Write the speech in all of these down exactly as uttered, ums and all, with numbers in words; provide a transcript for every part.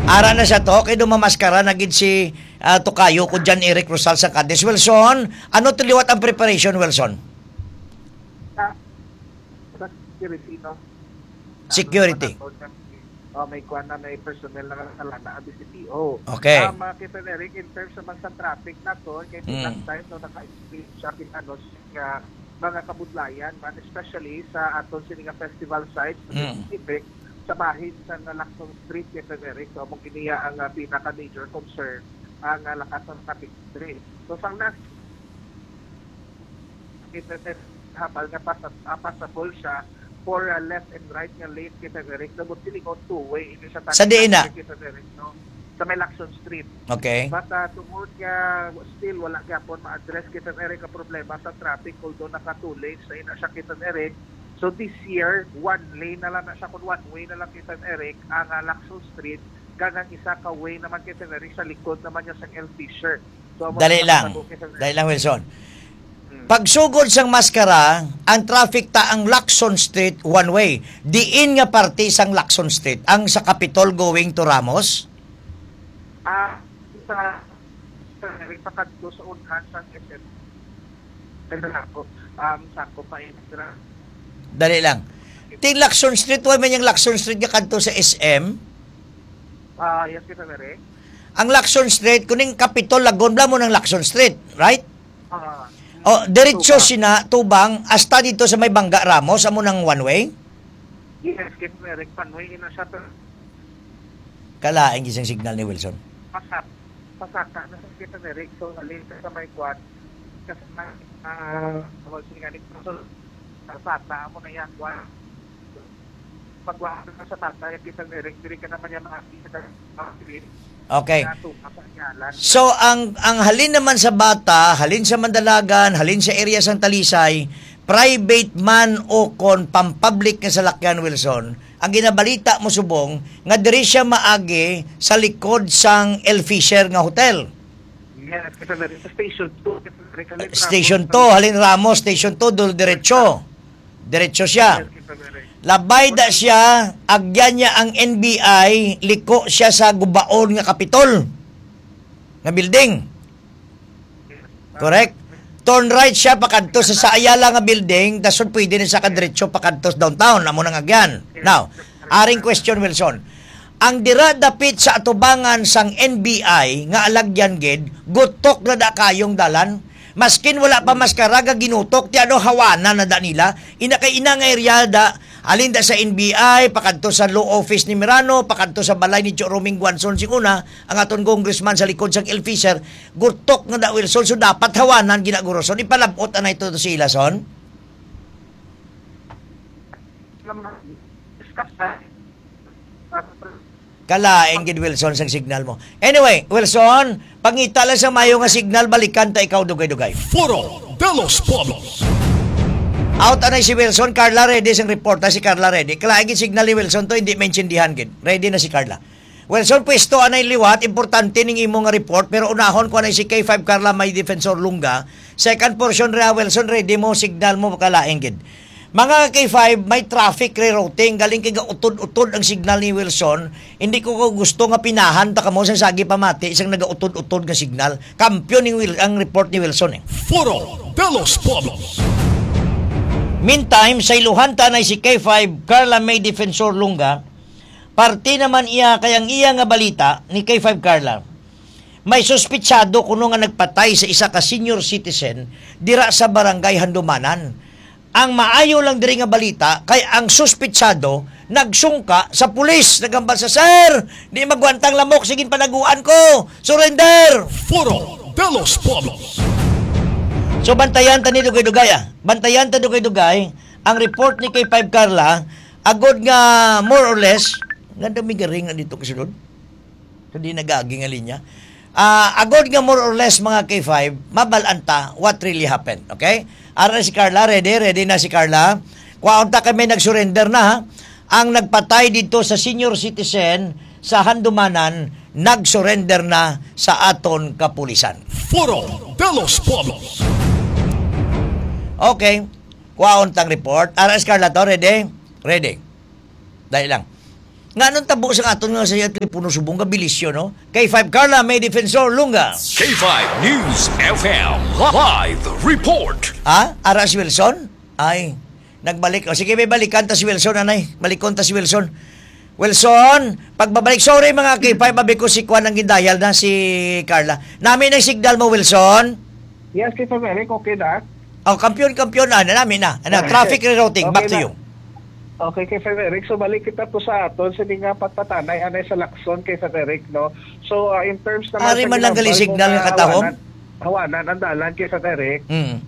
Ara na siya to, kay dumamaskara na gid si, ah, Tokayo ko John Eric Rosal sa Cadiz. Wilson, ano to liwat ang preparation, Wilson? Sa, sa security, no? Security. Ano, may, oh, may kuwan na, may personnel na nakalana ang D C P O. Okay. Ah, mga Kevin Eric, in terms naman sa traffic na to, kay Mm. last time, no, naka-experience siya, ano, nga mga kabudlayan, man, especially sa aton sini nga festival site sa Mm. Pacific, sa bahin sa nga Lacson Street, Kevin Eric. So, among iniya ang, ah, pinaka-major concern, ang, ah, lakas ng traffic diri. So, sang last, Kevin Eric, habal nga pasa-, ah, passable siya for, ah, left and right nga lane, Kevin Eric. Nabot silingon two-way, ini sa Sa diin na? Kevin Eric, no? Sa may Lacson Street. Okay. But, ah, tungod nga still wala gyapon ma-address, Kevin Eric, ang problema sa traffic, although naka two lanes na ina siya, Kevin Eric. So this year, one lane na lang na siya, kung one way na lang, Kevin Eric, ang, ah, Lacson Street, kag ang isa ka way naman, Kevin Eric, sa likod naman niya sang L Fisher. So, amo Dali na lang. Sa bukid, Kevin Eric. Dali lang, Wilson. Hmm. Pagsugod sang maskara, ang traffic ta ang Lacson Street one way. Diin nga parte sang Lacson Street? Ang sa Capitol going to Ramos? Ah, sa, sa, sa kadto sa unhan sa S M. Kaya ako, um, sa ako pa yung Dali lang. Ting Lacson Street, wa man yung Lacson Street nga kadto sa S M? Ah, yes, Kevin Eric. Ang Lacson Street, kuning Capitol, Lagon, bla mo ng Lacson Street, right? Ah, O, diretso tubang. Sina, tubang, hasta dito sa may Bangga Ramos, amo nang one way? Yes, Kevin Eric, one way na siya, pero Kalain gisang signal ni Wilson. Pasak-, pasaka na sa Kevin Eric, so, halin ka sa may kwan, kasi may, ah, tawag siya nga ni Wilson, sa Sata, amo na yan, kwan. Pagwa ka sa Sata, yung Kevin Eric, diri ka naman yung mga sa Okay. Nga, tupa sa Anyalan. So, ang, ang halin naman sa Bata, halin sa Mandalagan, halin sa area sang Talisay, private man o kon pampublic nga salakyan, Wilson, ang ginabalita mo subong nga diri siya maagi sa likod sang El Fisher nga hotel. Yes, kasi na rin sa Station two, kasi na rin kami Station Ramos, two, halin Ramos, Station two, dul diretso. Diretso siya. Yes, kasi na rin. Labay da siya, agyan niya ang N B I, liko siya sa gubaon nga Kapitol nga building. Correct? Turn right siya pakadto sa, sa Ayala nga building, dason pwede na siya kadiretso pakadto sa downtown. Amo nang agyan. Now, aring question, Wilson. Ang dira dapit sa atubangan sang N B I nga alagyan gid, gutok na da kayong dalan. Maskin wala pa maskara, ga ginutok, ti ano, hawanan na da nila. Ina kay ina nga eryada, halin da sa N B I, pakadto sa law office ni Mirano, pakadto sa balay ni Cho Roming Guanzon sing una, ang aton congressman sa likod sang El Fisher, gutok na da, Wilson, so dapat hawanan ginaguroson. Ipalabot anay to, to si Ilason. Kalain gid, Wilson, sang signal mo. Anyway, Wilson, pangita lang sa mayo nga signal, balikan ta ikaw, dugay-dugay. Foro de los Pueblos. Out anay si Wilson. Carla, ready sang report, ha? Si Carla ready. Kalain gid signal ni Wilson to, hindi maintindihan gid. Ready na si Carla. Wilson, pwesto anay liwat, importante ning imo nga report, pero unahon ko anay si K five Carla, may defensor Lungga. Second portion ra, Wilson, ready mo, signal mo, kalain gid. Mga K five, may traffic rerouting. Galing kay gautod-utod ang signal ni Wilson. Hindi ko, ko gusto nga pinahan ta kamo sa sagi pamati isang nagautod-utod nga signal. Kampiyon ni Wil-, ang report ni Wilson, eh. Foro de los Pueblos. Meantime, sa iluhan tanay si K five, Carla May Defensor Lungga, parte naman iya kay ang iya nga balita ni K five Carla. May suspitsado kuno nga nagpatay sa isa ka senior citizen dira sa Barangay Handumanan. Ang maayo lang diri nga balita kay ang suspitsado nagsungka sa pulis, naghambal sa, "Sir, di magwantang lamok, sige panaguan ko. Surrender!" Foro de los Pueblos. So, bantayan ta ni dugay-dugay, ah. Bantayan ta dugay-dugay ang report ni K five Carla, agod nga more or less, nga dami garing na dito kasunod. Hindi nagagi nga linya. Ah, agod nga more or less, mga K five, mabal-an ta what really happened, okay? Ara si Carla, ready? Ready na si Carla? Kwaon ta kay may nag-surrender na, ha? Ang nagpatay dito sa senior citizen sa Handumanan, nag-surrender na sa aton kapulisan. Foro de los Pueblos. Okay. Kwaon tang report. Ara si Carla to, ready? Ready. Dali lang. Nga anong tabo sa aton nga sa Telepono Subong nga bilisyo, no? K five Carla, may defensor, Lunga. K five News F M live report. Ha? Ara si Wilson? Ay, nagbalik. O sige, may balikan ta si Wilson, anay. Balikon ta si Wilson. Wilson, pagbabalik. Sorry, mga K five, abi ko si Kwan ang gindayal na si Carla. Nami na signal mo, Wilson? Yes, K five Eric, okay na? Oh, kampiyon, kampiyon na. Nami na. Ano, traffic rerouting. Back Okay to na. you. Okay, K five Eric. So, balik kita to sa aton sa nga pagpatanay, anay sa Lacson, K five Eric, no? So, ah, in terms naman Ari sa man lang gali ginambal mo signal nga nga katahom? hawanan, hawanan ang dalan, K five Eric. Mm.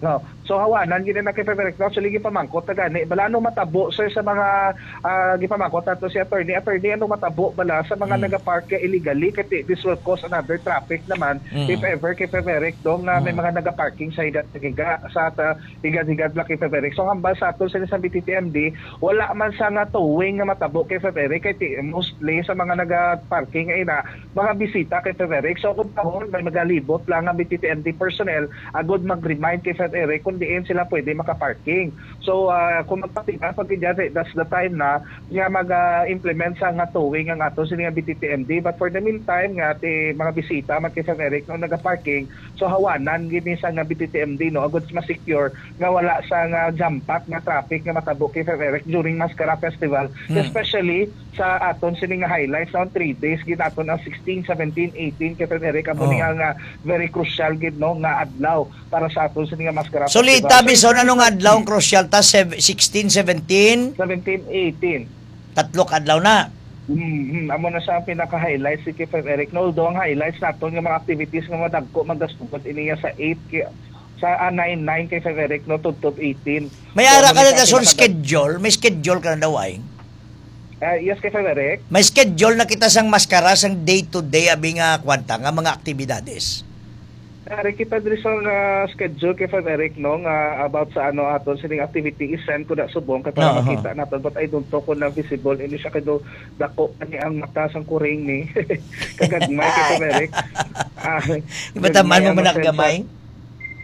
No. So, hawanan gini na, K five Eric, no? Actually, gipamangkot na gani. Bala, ano matabo, sir, sa mga, ah, gipamangkot nato si attorney? Attorney, ano matabo bala sa mga Mm. nagapark illegally? Kay this will cause another traffic naman, Mm. if ever, K five Eric, dong, nga may Mm. mga nagaparking sa higa-higa, sa ta-, higad-higad lang, K five Eric. So, hambal sa aton sa isang B T T M D, wala man sa nga towing nga matabo, K five Eric, kay ti-, mostly sa mga naga-parking ay na, mga bisita, K five Eric. So, kung tahon, may magalibot lang ang B T T M D personnel, agod mag-remind, K five Eric, kung diin sila pwede makaparking. So, ah, kung magpatingala pag dyan, eh, that's the time na nga mag-implement sa nga towing ang ato sini nga B T T M D. But for the meantime, nga ti mga bisita, man, K five Eric, no, nagaparking, so, hawanan gini sa nga B T T M D, no, agud mas ma-secure nga wala sa nga jam-pack nga traffic nga matabo, K five Eric, during Mascara Festival, Hmm. especially sa aton sini nga highlights, no, three days gid aton ang sixteen, seventeen, eighteen, K five Eric, amo ni Oh. nga, nga very crucial gid, no, nga adlaw para sa aton sini nga Mascara So, Festival. Lita, So, Bison, anong adlaw ang crucial ta? Sev-, sixteen, seventeen? Seventeen, eighteen. Tatlo ka adlaw na. Mm, mm. Amo na siya ang pinaka-highlights, si K five Eric. No, although ang highlights naton nga mga activities nga madagko, magasugod ini nga sa eight, ki-, sa, ah, nine, nine, K five Eric, no, tubtob eighteen. May So, ara amo ka na na sa dason pinaka- schedule? May schedule ka na daw, ay? Ah, yes, K five Eric. May schedule na kita sang Mascara, sang day-to-day, abi nga kwanta, nga mga aktibidades. Ari kita diri sa, ah, schedule, K five Eric, no, nga about sa, ano, aton sining activity, i-send ko na subong kay para Oo. makita naton, but I don't know kung na visible ini siya kay do dako pa ni ang mata sang kuring ni. Kagagmay, K five Eric. Ah, Iba taman gagmay mo ang man masensa. Gamay?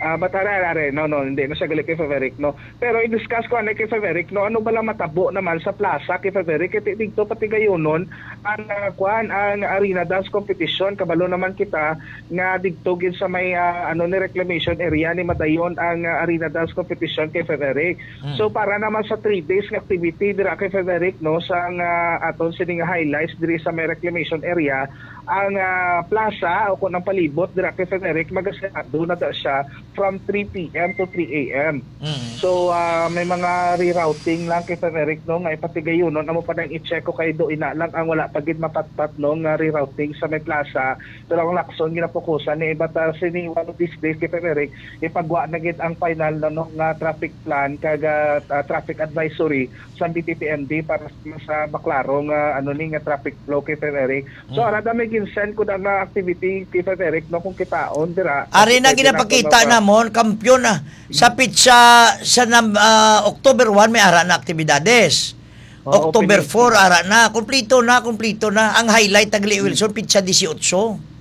Ah, but are, are, are, no, no, hindi na siya gali, K five Eric, no. Pero i-discuss ko, ano, K five Eric, no, ano ba lang matabo naman sa plaza, K five Eric? Kay dito, pati gayunon, ang, ah, kuan, ang arena dance competition, kabalo naman kita nga didto gid sa may, ah, ano ni, reclamation area ni madayon ang, ah, arena dance competition, K five Eric. Mm. So, para naman sa three days nga activity dira, K five Eric, no, sa nga aton sining highlights diri sa may reclamation area, ang, ah, plaza o kung ang palibot dira, K five Eric, magasarado na da siya from three P M to three A M. Mm. So, ah, may mga rerouting lang, K five Eric, no, nga ipatigayunon. Amo pa nang i-check ko kay do ina lang ang wala pa gid mapatpat, no, nga rerouting sa may plaza. Pero ang Lacson ginapukusan ni iba ta sini one of these days, K five Eric, ipagwa na gid ang final, no, no, nga traffic plan kag, ah, ah, traffic advisory sa B T T M D para sa, sa maklaro nga, ano ni, nga traffic flow, K five Eric. So, Mm. ara da may ginsend ko na nga activity, K five Eric, no, kung kitaon dira. Ari na Pwede na ginapakita ako mapa- namon, kampiyon na. Sa Mm. pitsa sa nam-, ah, October one, may ara na aktibidades. Oo, October opening. four, ara na. Kumplito na, kumplito na. Ang highlight, Taglio Mm. Wilson, pitsa dieciocho.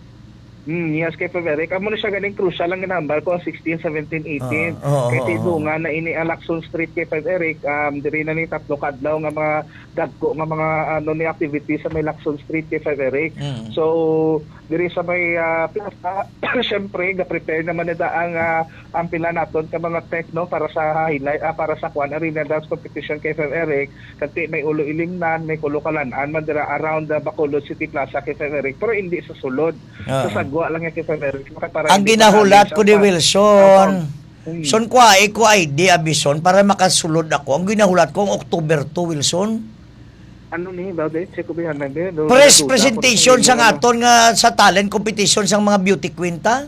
Mm, yes, K five Eric. Amo na siya ganing crucial ang ginahambal ko, ang sixteen, seventeen, eighteen. Oo, oo, Kay oo. tidungan na ini ang Lacson Street, K five Eric. Um, diri na ni tatlo ka adlaw nga mga dagko nga mga, ano, ni activity sa may Lacson Street, K five Eric. Mm. So, diri sa may, ah, plaza, syempre, ga-prepare naman na ang, ah, ang pila naton ka mga tech, no, para sa highlight, ah, para sa Kwan Arena Dance Competition, K five Eric. Kati may Ulo Ilimnan, may Kulo Kalan-an, man dira around the Bacolod City Plaza, K five Eric. Pero hindi sa sulod. Sa Oo. sagwa lang yan, K five Eric. Para Ang hindi ginahulat maalis ko ang ni pa-, Wilson, ang pa-, hmm. Son, kuha ko I D, abi, son, para makasulod ako. Ang ginahulat ko, ang October two, Wilson. Ano ni, Babe? Check ko ba yan, Babe? Do-, Press do-, do-, presentation do-, sang do-, aton nga sa talent competition sang mga beauty queen ta.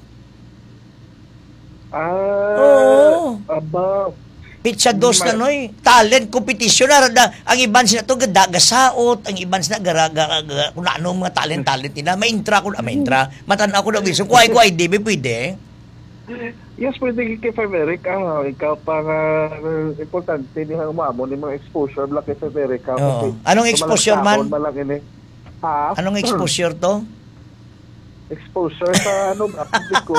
Ah, Oo. aba. Pitsa dos na, Mar- noy. Talent competition. Ara na, ang iban sila to, gada-, gasaot. Ang iban sila, gara-, gara-, gara-, kung ano, mga talent, talent nila. May intra ko, ah, may intra. Matan-aw ko na, Wilson. Kuha ko I D, may pwede. Yes, pwede kay Frederick. Ah, ikaw pa nga, importante ni ang umamo ni mga exposure, bala kay Frederick, ah, Oo. kasi Anong sa exposure man? malaksaon, malang ini. Ha? Anong exposure to? Exposure sa ano ba? Publiko.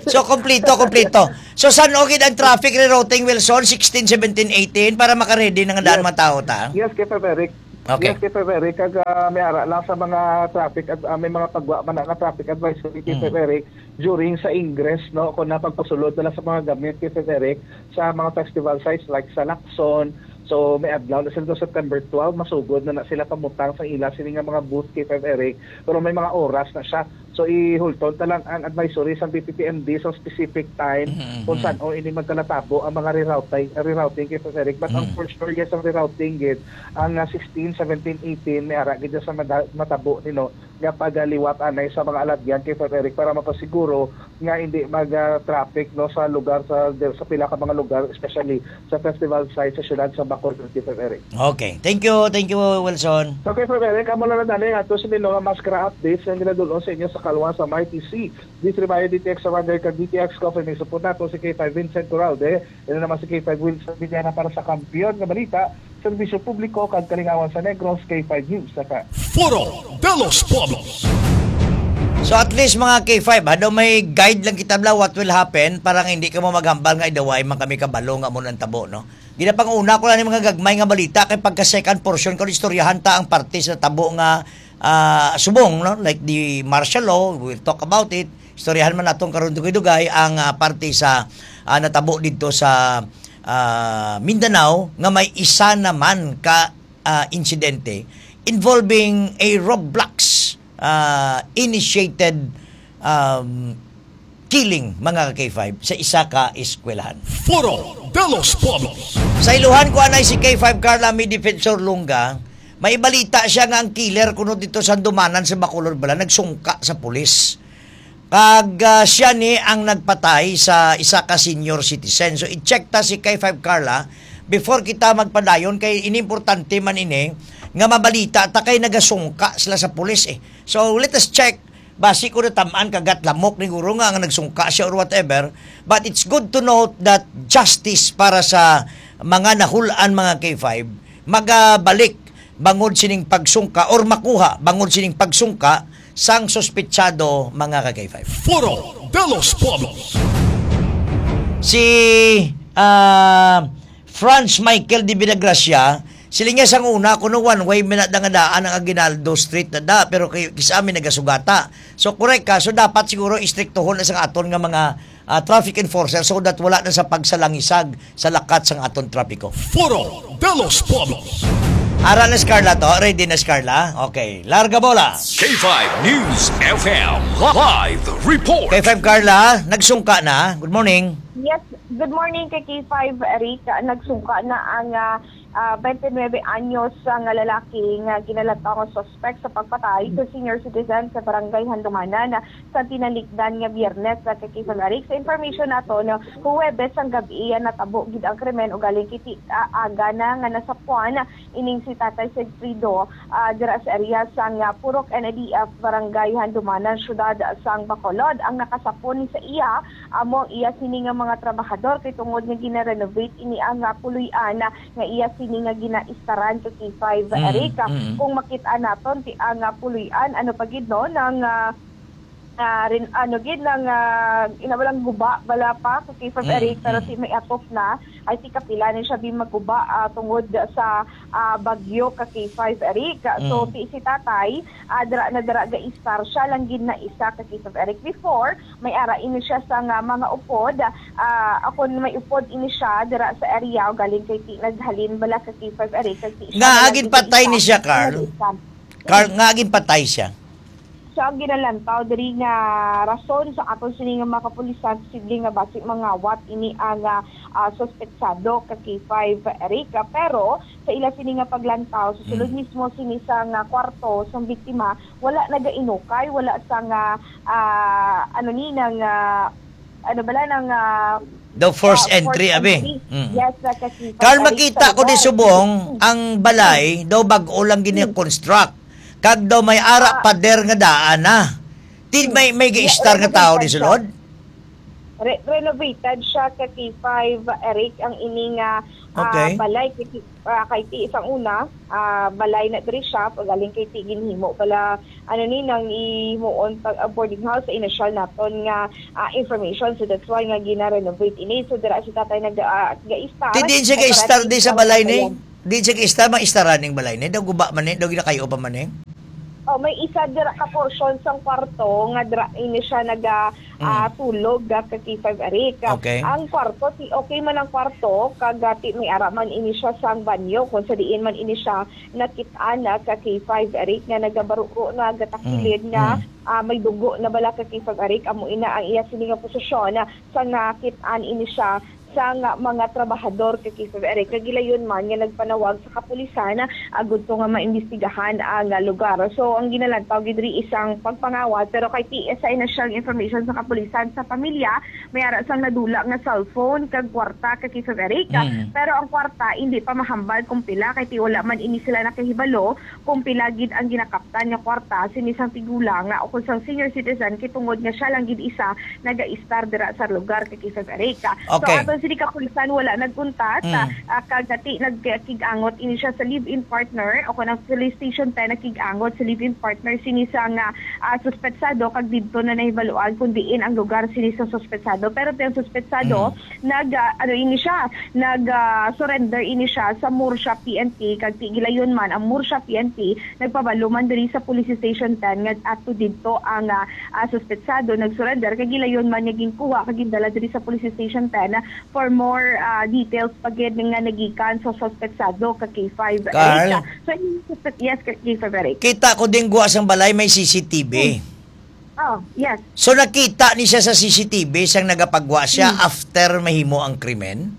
So, kompleto, kompleto. So, san-o gid ang traffic rerouting, Wilson? Sixteen, seventeen, eighteen, para maka-ready na nga daan Yes. mga tao ta? Yes, K five Eric. Okay. Yes, K five Eric. Kag ah, may ara lang sa mga traffic, ad- ah, may mga pagwa man na nga traffic advisory, K five Mm. Eric, during sa ingress, no, kung napagpasulod na lang sa mga gamit, K five Eric, sa mga festival sites like sa Lacson. So, may adlaw na sila, September twelve, masugod na na sila pamutang sa ila sini nga mga booth, K five Eric, pero may mga oras na siya. So, ihulton ta lang ang advisory sa B P P M D sa specific time Mm-hmm. kung saan o ini magkalatabo ang mga rerouting, rerouting, K five Eric. But ang Mm. for sure, yes, ang rerouting gid, ang ah, sixteen, seventeen, eighteen, may ara gid sa mada- matabo nino nga pagaliwat anay sa mga alagyan, K five Eric, para mapasiguro nga hindi mag-traffic, no, sa lugar, sa sa pila ka mga lugar, especially sa festival site sa siyudad sa Bacolod, K five Eric. Okay. Thank you. Thank you, Wilson. So, K five Eric, amo na lang dali ato sa mga maskara updates nga ginadulong sa inyo sa kalwa sa Mighty C. This reminder, D T X Surrender kag D T X Coffee, may support nato si K five Vincent Coralde, ina naman si K five Wilson Villana para sa kampiyon nga balita, serbisyo publiko kag kalingawan sa Negros, K five News. Sa Foro de los Pueblos. So at least mga K five, ano, may guide lang kita bla what will happen para nga hindi ka mo maghambal nga idaway man kami kabalo nga mo nang tabo, no? Ginapanguna ko lang ni mga gagmay nga balita kay pagka second portion ko istoryahan ta ang parte sa tabo nga ah, subong, no? Like the martial law, we'll talk about it. Istoryahan man naton karon dugay-dugay ang ah, parte sa ah, natabo didto sa ah, Mindanao nga may isa naman ka ah, insidente involving a Roblox ah, initiated um, killing, mga ka-K five, sa isa ka eskwelahan. Foro de los Pueblos. Sa iluhan ko anay si K five Carla, may defensor Lunga, may balita siya nga ang killer kuno dito sa Dumanan sa Bacolod bala nagsungka sa pulis. Kag ah, siya ni ang nagpatay sa isa ka senior citizen. So i-check ta si K five Carla before kita magpadayon kay inimportante man ini nga mabalita ta kay nagasungka sila sa pulis eh. So let us check. Basi ko natam-an kagat lamok ni guro nga ang nagsungka siya or whatever, but it's good to note that justice para sa mga nahulan, mga K five, magabalik bangod sining pagsungka or makuha bangod sining pagsungka sang suspetsado, mga ka K five. Foro de los Pueblos. Si ah, Franz Michael de Villagracia, siling niya sang una kuno one way man na nga daan ang Aguinaldo Street na da, pero kay kis-a mi nagasugata. So correct ka, so dapat siguro istriktuhon na sang aton nga mga ah, traffic enforcer so that wala na sa pagsalangisag sa lakat sang aton trapiko. Foro de los Pueblos. Ara na si Carla to, ready na si Carla. Okay, larga bola. K five News F M live report. K five Carla, nagsungka na. Good morning. Yes, good morning kay K five Eric. Nagsungka na ang ah, ah, twenty-nine anyos nga lalaki nga ginalantaw nga suspect sa pagpatay sa senior citizen sa barangay Handumanan sa tinalikdan nga Biyernes sa kay K five Eric. Sa information nato, no, Huwebes ang gabi natabo gid ang krimen ugaling kiti ah, aga na nga nasapuan ining si Tatay Sigfrido ah, dira sa area sang ah, Purok N D F, Barangay Handumanan, Siyudad sang Bacolod. Ang nakasapon ni sa iya amo ang iya sini nga mga trabahador kay tungod nga gina-renovate ini ang ah, puloy-an nga iya sini nga ginaistaran sa K five Mm, Eric. mm. Kung makita naton ti ang ah, puloy-an, ano pa gid no, nang ah, ah, rin, ano gid nang ah, ina walang guba bala pa sa K five Mm, Eric, pero mm. si may atop na ay ti kapila ni siya di maguba ah, tungod sa ah, bagyo ka K five Eric. So Mm. si si tatay ah, dira na dira ga istar siya lang gid na isa ka K five Eric. Before may ara ini siya sa nga mga upod. Ah, ako may upod ini siya dira sa area o galing kay ti naghalin bala ka K five Eric kag ti siya Nga na lang agin gid patay isa ni siya, Carl? Nag-isa. Carl, nga agin patay siya. Sa ginalantaw diri nga rason sa aton sini nga mga kapulisan, posible nga basi mangawat ini ang ah, ah, suspetsado ka K five Eric. Pero sa ila sini nga paglantaw, sa sulod Mm. mismo sini sa nga kwarto sang biktima, wala nagainukay, wala sa nga ah, ano ni nang ah, ano bala nang ah, The first ah, entry, forced abi. entry. Mm. Yes, na ka K five Carl, Eric. Makita Sa ko di lugar. Subong, Mm. ang balay daw bag-o lang gini Mm. construct. Kag daw may ara Ah. pader nga daan na. Ti may may Re- gi-istar nga tao di renovated siya. Sulod? Re- renovated siya ka K five Eric ang ini nga ah, Okay. balay kay ti, ah, kay ti sang una, ah, balay na diri siya, pagaling kay ti ginhimo bala, ano ni, nang ihimuon pag ah, boarding house sa inisyal naton nga ah, information. So that's why nga gina-renovate ini. So dira si tatay nag ah, gaistar. Ti diin siya Ay, para gaistar ti di sa sa balay ni? kabayan. Di siya gaistar, maistar aning balay ni? Daw guba man ni? Daw ginakayo pa man ni? Oh, may isa dira ka portion sang kwarto nga dira ini siya naga ah, tulog ah, ka K five Eric. Okay. Ang kwarto, ti okay man ang kwarto, kag ah, ti may ara man ini siya sang banyo, kung sa diin man ini siya nakit-an ah, ka K five Eric nga nagabaruro na gatakilid Mm, nga mm. ah, may dugo na bala ka K five Eric, amo ina ang iya sini nga posisyon ah, sa nakit-an ini siya sang mga trabahador ka K five Eric. Kagilayon man nga nagpanawag sa kapulisan agud to nga maimbestigahan ang ah, lugar. So ang ginalantaw gid diri isang pagpangawat, pero kay ti sa initial information sa kapulisan sa pamilya, may ara sang nadula nga cellphone kag kwarta ka K five Eric. Mm. Pero ang kwarta hindi pa mahambal kung pila kay ti wala man ini sila nakahibalo kung pila gid ang ginakaptan nga kwarta sini sang tigulang nga o kung sang senior citizen kay tungod nga siya lang gid isa nagaistar dira sa lugar ka K five Eric. So Okay. aton sini kapulisan wala nagkuntat Mm. ah, kag dati nagkig-angot ini siya sa live-in partner o kung ang police station ten nagkig-angot sa live-in partner sini sa nga ah, suspetsado kag didto na nahibaluan kung diin ang lugar sini sa suspetsado. Pero ti ang suspetsado nag ah, ano ini siya, nag ah, surrender ini siya sa Murcia P N P kag ti gilayon man ang Murcia P N P nagpabalo man diri sa Police Station ten nga ato didto ang ah, ah, suspetsado nag-surrender kag gilayon man nga ginkuha kag gindala diri sa Police Station ten for more ah, details pa gid nga nagikan sa suspetsado ka K five Carl? Eric. So, ini suspek-, yes, ka K five Eric. Kita ko din guwa sang balay may C C T V. Oh, yes. So nakita ni siya sa C C T V sang nagapagwa siya Hmm. after mahimo ang krimen?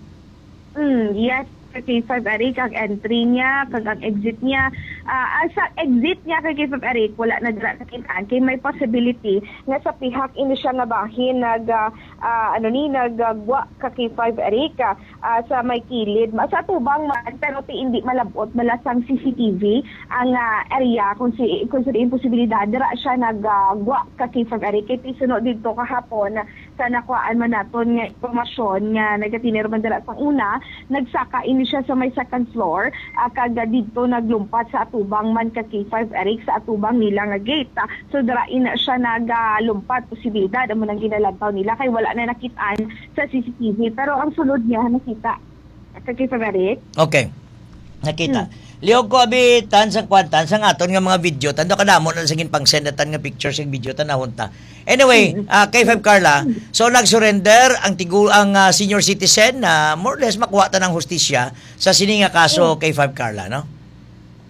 Mm, yes, ka K five Eric, ang entry niya, kag ang exit niya. Ah, ah, sa exit niya ka K five Eric, wala na dira nakitaan. Kay may possibility nga sa pihak ini siya nga bahin nag, ah, ah, ano ni, nagagwa ka K five Eric, ah, ah, sa may kilid. Ma-, sa tubang man, pero ti hindi malabot, bala sang C C T V ang ah, area kung si kung sa imposibilidad dira siya nagagwa ka K five Eric. Kay ti suno didto kahapon sa nakuhaan man naton nga impormasyon nga nagatinir man dira sang una, nagsaka ini siya sa may second floor, ah, kag didto naglumpat sa atubang man ka K five Eric sa atubang nila nga gate. Ah, so dira ina siya nagalumpat posibilidad amo nang ginalantaw nila kay wala na nakit-an sa C C T V pero ang sulod niya nakita ka K five Eric. Okay. Nakita. Liog ko abi tan sang kwan, tan sang aton nga mga video, tan daw kadamo na sa ginpang-send na tan nga pictures ug video tan nahunta. Anyway, ah, K five Carla, so nag-surrender ang tigu ang ah, senior citizen na more or less makuha ta ng hustisya sa sini nga kaso K five Carla, no?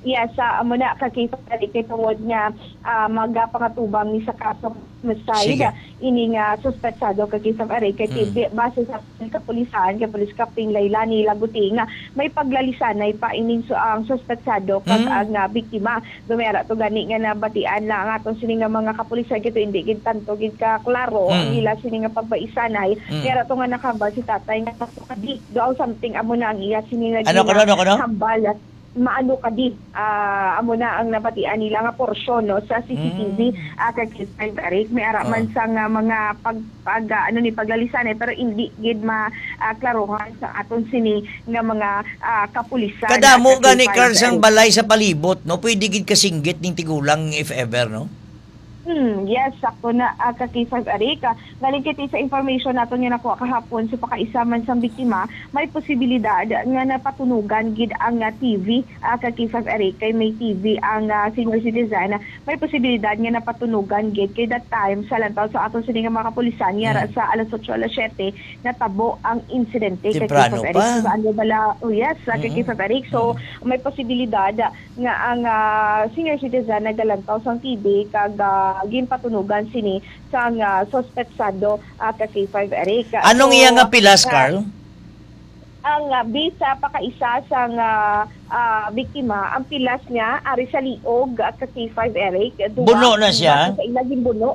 Yes, sa amo na ka K five Eric kay tungod nga ah, magapangatubang ni sa kaso homicide Sige. Ini nga suspetsado ka K five Eric kay Mm. ti- base sa kapulisan kay Police Captain Lailani Laguti nga may paglalisanay pa ining su- ang suspetsado kag Mm. ang ah, biktima. Dumera to gani nga nabatian na ang aton sini nga mga kapulisan kay to hindi gid tanto gid ka klaro ang Mm. ila sini nga pagbaisanay. Mm. Kaya to nga nakahambal si tatay nga kadi do ang something amo na ang iya sini nga Ano, ano, ano, ano? Hambal maano kadi ah, amo na ang nabatian nila nga porsyon no sa C C T V Mm. ah, kag K five Eric may ara man Oh. sa nga mga pag, pag ah, ano ni paglalisanay pero hindi gid ma ah, klaruhan sa aton sini nga mga ah, kapulisan. Kadamo Ah, sa gani K five Carl sang Eric. Balay sa palibot, no? Pwede gid kasinggit ning tigulang if ever, no? Hmm, yes, sakto na ah, ka K five Eric. Ah, Galing kiti sa information naton nga nakuha kahapon sa pakaisa man sang biktima, may posibilidad nga napatunugan gid ang ah, T V ah, ka K five Eric kay may T V ang ah, senior citizen. May posibilidad nga napatunugan gid kay that time sa lantaw sa aton sini nga mga kapulisan nga Mm. sa alas otso, alas siyete natabo ang insidente kay Temprano K five Eric. pa. So, ano bala, oh yes, sa kay Mm-mm. K five Eric. So, may posibilidad nga ang ah, senior citizen nagalantaw sang T V kag ah, ginpatunugan sini sang ah, suspetsado ah, ka K five Eric. Anong So, iya nga pilas, ah, Carl? Ang ah, bisa pakaisa sang ah, ah, biktima, ang pilas niya ari sa liog ah, ka K five Eric. Duwa Buno na ang siya? base sa ila ginbuno.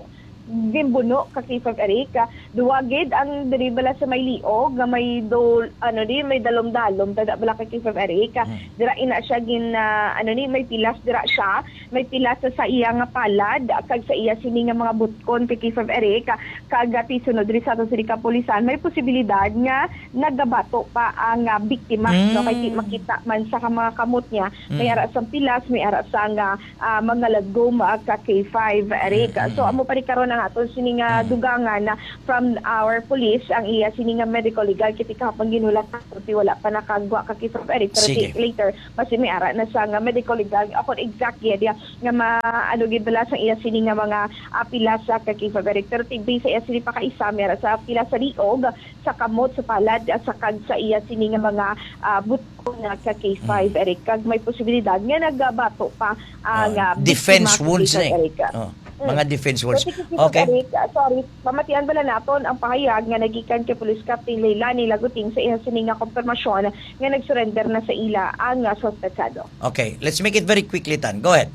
ginbuno ka K five Eric. Ah, duwa gid ang diri bala sa may liog nga may dol-, ano di, may dalom-dalom, tada bala ka K five Eric. Ah, Mm. dira ina siya gin, ah, ano ni, may pilas dira siya, may pilas sa, sa iya nga palad, kag sa iya sini nga mga butkon ka K five Eric. Ah, kag, ah, ti sunod diri sa ato sini kapulisan, may posibilidad nga nagabato pa ang, ah, biktima, no? Kay di Mm. makita man sa ka-, mga kamot niya, may Mm. ara sang pilas, may ara sang, ah, ah, mga lagom, ah, ka K five, Eric. Mm, mm, So, mm. amo pa rin karon ang aton sini nga Mm. dugangan na from our police, ang iya sini nga medical legal, kiti kahapon ginulat na, ti wala pa nakagwa ka K five, Eric, pero Sige. ti later, basi may ara na sa nga medical legal, ako exact, yeah, yeah, nga ma-, ano, gid bala sa iya sini nga mga, ah, pilas sa ka K five, Eric, pero ti based sa iya sini pakaisa, may ara sa pilas sa liog, sa kamot, sa palad, ah, sa kag sa iya sini nga mga, ah, buto nga ka K five, Mm. Eric, kag may posibilidad nga nagabato pa, ah, Oh, nga defense biktima ka wounds K five, na eh. Eric. Oh, Mm. mga defense wounds. So, sige, sige, Okay. Eric, ah, sorry, pamatian bala naton ang pahayag nga nagikan kay Police Captain Leilani Laguting sa iya sini nga kompirmasyon nga nag-surrender na sa ila ang, ah, suspetsado. Okay, let's make it very quickly, Tan. Go ahead.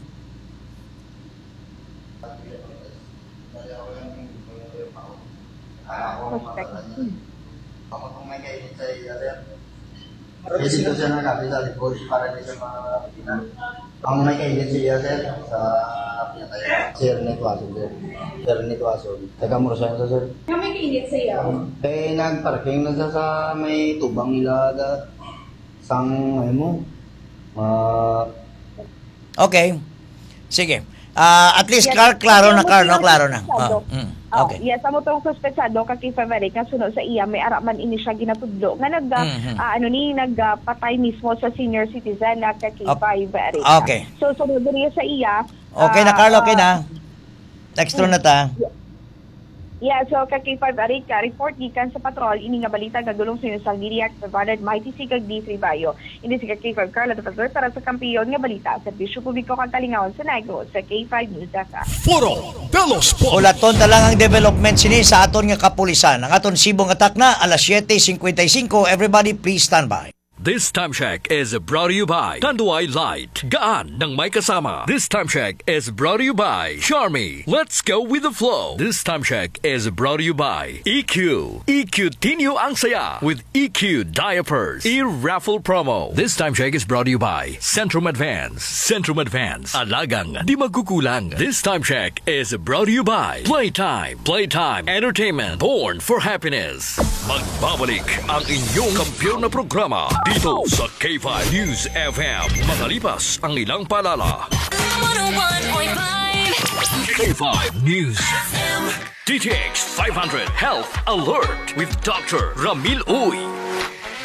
Suspect. Ako kung may kainit sa iya, sir. Pwede po siya nagkapit sa likod para di siya makakita. Ang may kainit sa iya, sir, sa pinatay. Sir Nitwason, sir. Sir Nitwason. Taga Murasyan sa, sir. Nga may kainit sa iya? Eh, nag-parking na siya sa may tubang nila, da, sang, ano mo, ah, Okay. Sige. Ah, at least Yes. klar-, klaro na, Kaya mo klaro, silang klaro na. Suspetsado. Oh, mm, Oh, okay. Yes, amo tong suspetsado ka K five Eric nga suno sa iya, may ara man ini siya ginatudlo nga nag, ah, Mhm. ah, ano ni, nag, ah, patay mismo sa senior citizen na ka K five Eric. Okay. So, sunod diri sa iya, Okay na, ah, Carlo, okay ah, na. Text through na ta. Yeah, so ka K five Arica, report gikan sa patrol, ini nga balita nagdulong sa inyo sang D D X five hundred, Mighty C kag D three Bayo. Ini si ka K five Carla Tapasor para sa Kampiyon nga Balita, Serbisyo Publiko kag Kalingawan sa Negros, sa K five News F M. Foro de los Pueblos. Ulaton ta lang ang development sini sa aton nga kapulisan. Ang aton sibong atak na alas siete cincuenta y cinco. Everybody, please stand by. This time check is brought to you by Tanduay Light. Gaan ng may kasama. This time check is brought to you by Charmy. Let's go with the flow. This time check is brought to you by E Q. E Q Tinyo ang saya with E Q diapers. E-raffle promo. This time check is brought to you by Centrum Advance. Centrum Advance. Alagang di magkukulang. This time check is brought to you by Playtime. Playtime Entertainment. Born for happiness. Magbabalik ang inyong kampiyon na programa dito sa K five News F M. Makalipas ang ilang paalala. One oh one point five K five News F M. D T X five hundred Health Alert with Doctor Ramil Uy.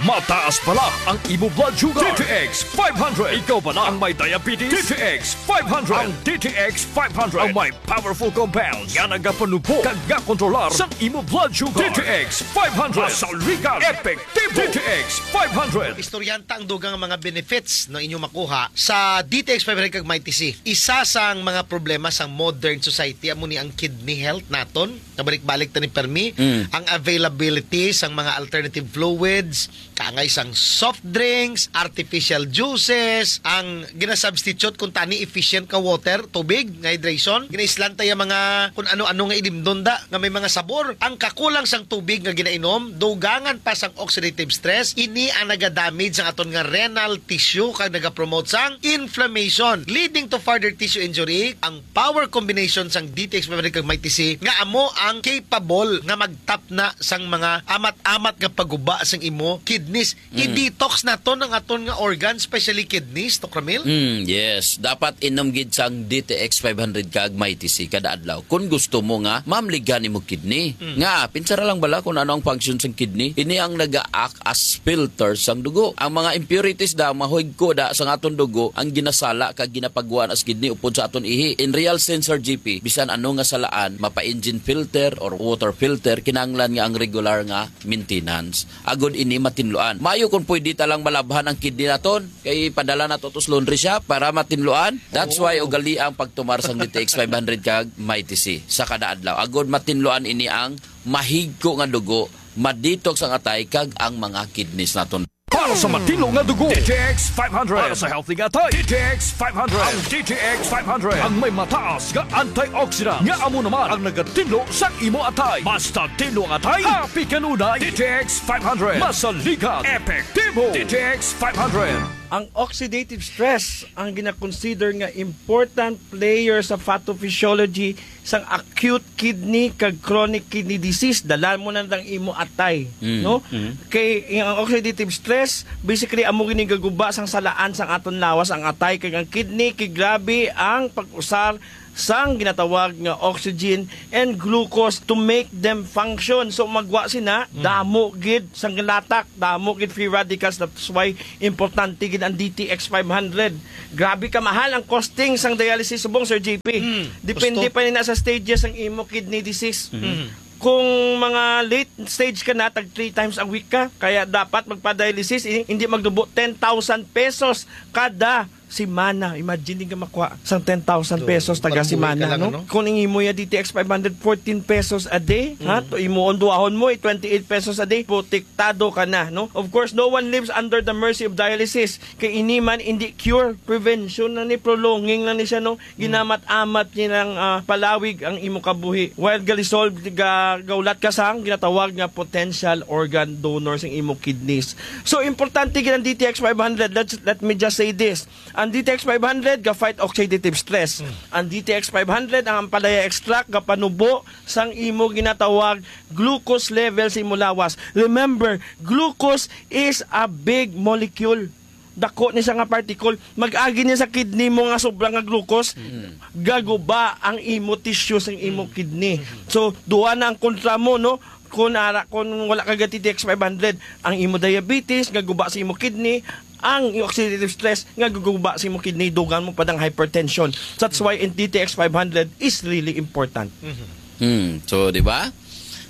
Mataas bala ang imo blood sugar. D T X five hundred. Ikaw bala ang may diabetes? D T X five hundred. Ang D T X five hundred ang may powerful compounds nga nagapanubo kag nga kontrolar sang imo blood sugar. D T X five hundred. Masaligan. Epektibo. D T X five hundred. Istoryahan ta ang dugang mga benefits, no, inyo makuha sa D T X five hundred kag Mighty C. Isa sang mga problema sang modern society amo ni ang kidney health naton. Nabalik-balik ta ni permi. Mm. Ang availability sang mga alternative fluids, kaangay sang soft drinks, artificial juices, ang ginasubstitute kung tani efficient nga water, tubig, nga hydration. Ginaislan ta ya mga kung ano-ano nga ilimdon da, nga may mga sabor. Ang kakulang sang tubig nga ginainom, dugangan pa sang oxidative stress, ini ang nagadamage sang aton nga renal tissue kag nagapromote sang inflammation, leading to further tissue injury. Ang power combination sang D T X five hundred kag Mighty C nga amo ang capable nga magtapna sang mga amat-amat nga paguba sang imo kidneys. Mm. I-detox naton ang aton nga organs, especially kidneys, Doc Ramil. Mm, yes. Dapat inom gid sang D T X five hundred kag Mighty C kada adlaw kung gusto mo nga mamligan imo kidney. Mm. Nga, pinsara lang bala kung ano ang function sang kidney. Ini ang naga-act as filter sang dugo. Ang mga impurities da, mahigko da sang aton dugo, ang ginasala kag ginapagwan as kidney upod sa aton ihi. In real sense, Sir G P, bisan ano nga salaan, mapa-engine filter or water filter, kinahanglan nga ang regular nga maintenance. Agod ini matinluan. Maayo kung pwede ta lang malabhan ang kidney naton, kay padala nato to sa laundry shop para matinluan. That's why ugali ang pagtumar sang D T X five hundred kag Mighty C sa kada adlaw. Agod matinluan ini ang mahigko nga dugo, ma-detox ang atay kag ang mga kidneys naton. Para Sa matinlo nga dugo, D T X five hundred. Para sa healthy nga atay, D T X five hundred. Ang D T X five hundred ang may mataas nga antioxidant nga amo naman ang nagatinlo sa imo atay. Basta tinlo ang atay, happy kanunay. D T X five hundred. Masaligan, epektibo. D T X five hundred. Ang oxidative stress ang ginakonsider nga important player sa pathophysiology sang acute kidney kag chronic kidney disease. Dalan mo na ang imo atay, Mm, no? mm. Kay ang oxidative stress, basically, amo gini gaguba sang salaan sang aton lawas, ang atay kag ang kidney, kay grabe ang pag-usar sang ginatawag nga oxygen and glucose to make them function. So, magwa sina, Mm. damo gid sang latak, damo gid free radicals. That's why importante gid ang D T X five hundred. Grabe ka mahal ang costing sang dialysis subong, Sir J P. Mm, Depende gusto. pa ni na sa stages ang imo kidney disease. Mm. Kung mga late stage ka na, tag three times a week ka, kaya dapat magpa-dialysis, eh, hindi magdubo ten thousand pesos kada semana. Imagine din ka makuha sang ten thousand So, pesos taga parang buhay ka semana, lang, no? ano? Kung ang imo ya D T X five hundred, fourteen pesos a day, ha? Mm. To imo, unduahon mo, eh, twenty-eight pesos a day, protektado ka na, no? Of course, no one lives under the mercy of dialysis. Kay ini man, hindi cure, prevention na ni, prolonging na ni siya, no? Ginamat-amat niya ng, ah, palawig ang imo kabuhi. While galisolve, ga-, gaulat ka sang ginatawag nga potential organ donor sa imo kidneys. So, importante gid ang D T X five hundred. Let's, let me just say this. Ang D T X five hundred ga-fight oxidative stress. Mm. Ang D T X five hundred, ang ampalaya extract, gapanubo sang imo ginatawag glucose level sa imo lawas. Remember, glucose is a big molecule. Dako ni siya nga particle. Mag-agi niya sa kidney mo nga sobra nga glucose. Mm. Gaguba ang imo tissue sang imo Mm. kidney. Mm. So, duha na ang kontra mo, no? Kung ara, kung wala ka ga-D T X five hundred, ang imo diabetes, gaguba sa imo kidney, ang oxidative stress, nga gaguba sa imo kidney, dugang mo pa dang hypertension. That's why in D T X five hundred is really important. Mhm. Hmm. So, di ba?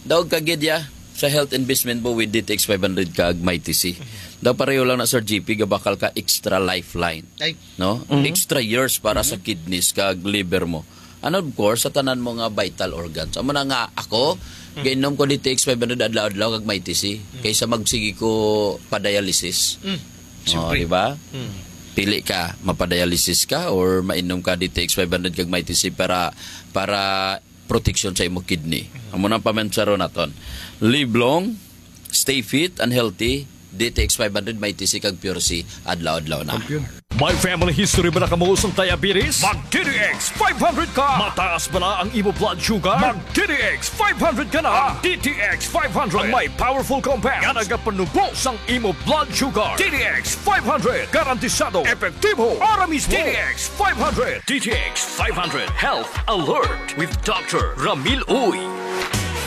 Daog ka gid ya sa health investment mo with D T X five hundred kag Mighty C. Mhm. Daw pareho lang na, Sir G P, gabakal ka extra lifeline. Ay. No? Mhm. Extra years para sa Mhm. kidneys kag liver mo. And of course, sa tanan mo nga vital organs. Amo na nga ako, Mhm. gainom ko D T X five hundred adlaw-adlaw kag Mighty C. Mhm. Kaysa magsigi ko pa dialysis. Mm. Oh, Siyempre. di ba? Mm. Pili ka, mapa-dialysis ka or mainom ka D T X five hundred kag Mighty C para, para protection sa imo kidney. Mm. Amo nang pamensaro naton. Live long, stay fit and healthy. D T X five hundred, Mighty C kag Pure C, adlaw-adlaw na. Champion. May family history ba na kamo sang diabetes? Mag D T X five hundred ka! Mataas ba na ang imo blood sugar? Mag D T X five hundred ka na! Ang D T X five hundred ang may powerful compound nga nagapanubo sang imo blood sugar. D T X five hundred, garantisado, epektibo, ara mismo. D T X five hundred. D T X five hundred Health Alert with Doctor Ramil Uy.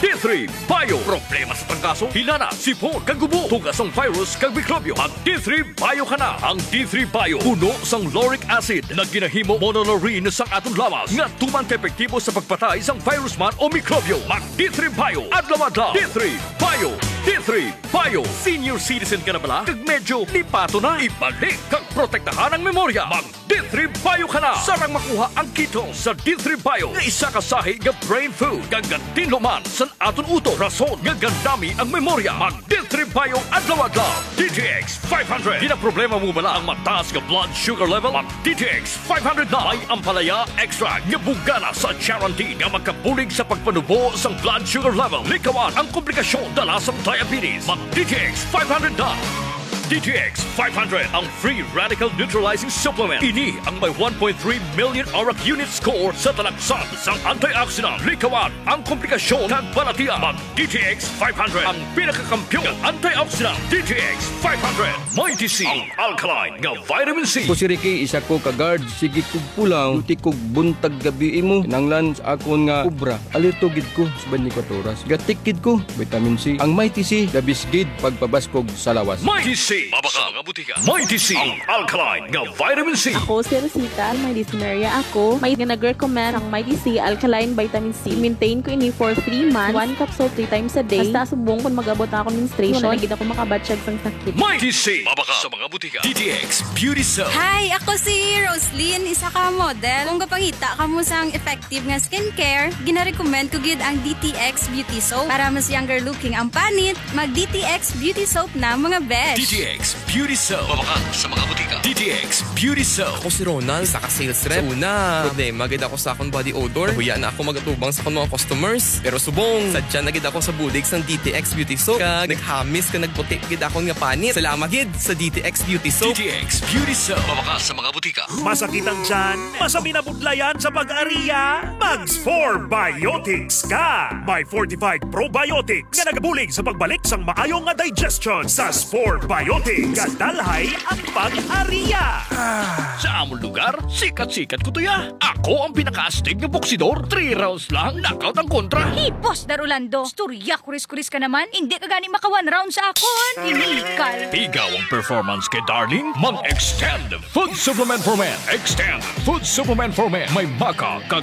D three Bio. Problema sa trangkaso, hilana, sipon, kag ubo, tuga sang virus kag mikrobyo. Mag D three Bio ka na. Ang D three Bio puno sang lauric acid nga ginahimo monolaurin sang aton lawas nga tuman ka epektibo sa pagpatay sang virus man o mikrobyo. Mag D three Bio adlaw-adlaw. D three Bio. D three Bio. Senior citizen ka na bala? Kag medyo lipato na? Ibalik kag protektahan ang memorya. Mag D three Bio ka na. Sarang makuha ang ketone sa D three Bio nga isa ka sahi nga brain food kag gatinlo man sa aton utok, rason nga gandami ang memorya. Mag D three Bio adlaw-adlaw. D T X five hundred. Ginaproblema mo bala ang mataas nga blood sugar level? Mag D T X five hundred na. May ampalaya extract nga bugana sa charantin nga makabulig sa pagpanubo sang blood sugar level. Likawan ang komplikasyon dala sang diabetes. Mag D T X five hundred na. D T X five hundred, ang free radical neutralizing supplement. Ini ang may one point three million arak unit score sa talaksan sang antioxidant. Likawan ang komplikasyon kag balatian. Mag D T X five hundred, ang pinakakampiyon nga antioxidant. D T X five hundred, Mighty C, ang alkaline nga vitamin C. Ako si Ricky, isa ko ka guard. Sige kog pulaw, duty kog buntag gabi imo. Kinahanglan sa akon nga obra, alerto gid ko sa twenty-four oras. Gatik gid ko, vitamin C. Ang Mighty C, the best gid pagpabaskog sa lawas. Mighty C, mabakal sa mga butika. Mighty C, ang alkaline nga vitamin C. Ako si Rosita, may dysmenorrhea ako. May nga nag-recommend ang Mighty C alkaline vitamin C. Maintain ko ini for three months. One capsule three times a day. Hasta subong kung mag-abot na akong menstruation, wala na gid ako makabatyag sang sakit. Mighty C, mabakal sa mga butika. D T X Beauty Soap. Hi, ako si Roslyn, isa ka model. Kung gapangita kamo sang effective nga skincare, ginarecommend ko gid ang D T X Beauty Soap. Para mas younger looking ang panit, mag D T X Beauty Soap na, mga besh. D T X Beauty Soap. Mabakal sa mga butika. D T X Beauty Soap. Ako si Ronald, isa ka sales rep. Sa una, problema gid ako sa akong body odor. Nahuya na ako magatubang sa akong mga customers. Pero subong, sadya na gid ako sa bulig sang D T X Beauty Soap. Kag naghamis ka nagputi gid akon nga panit. Salamat gid sa D T X Beauty Soap. D T X Beauty Soap. Mabakal sa mga butika. Masakit ang tiyan? Masabi na budlayan sa pag-ariya? Mag Spore Biotics ka! May fortified probiotics nga nagabulig sa pagbalik sang maayo nga digestion sa Spore Biotics. Kadalhay ang pag-ariya! Sa amon lugar, sikat-sikat ko to ya. Ako ang pinakaastig nga boksidor. Three rounds lang, knockout ang kontra. Hipos, Dar Orlando. Istorya, kuris-kuris ka naman. Hindi ka gani maka one round sa akon. Inikal. Ikaw ang performance kay Darling? Mag-Extend Food Supplement for Men. Extend Food Supplement for Men. May maca kag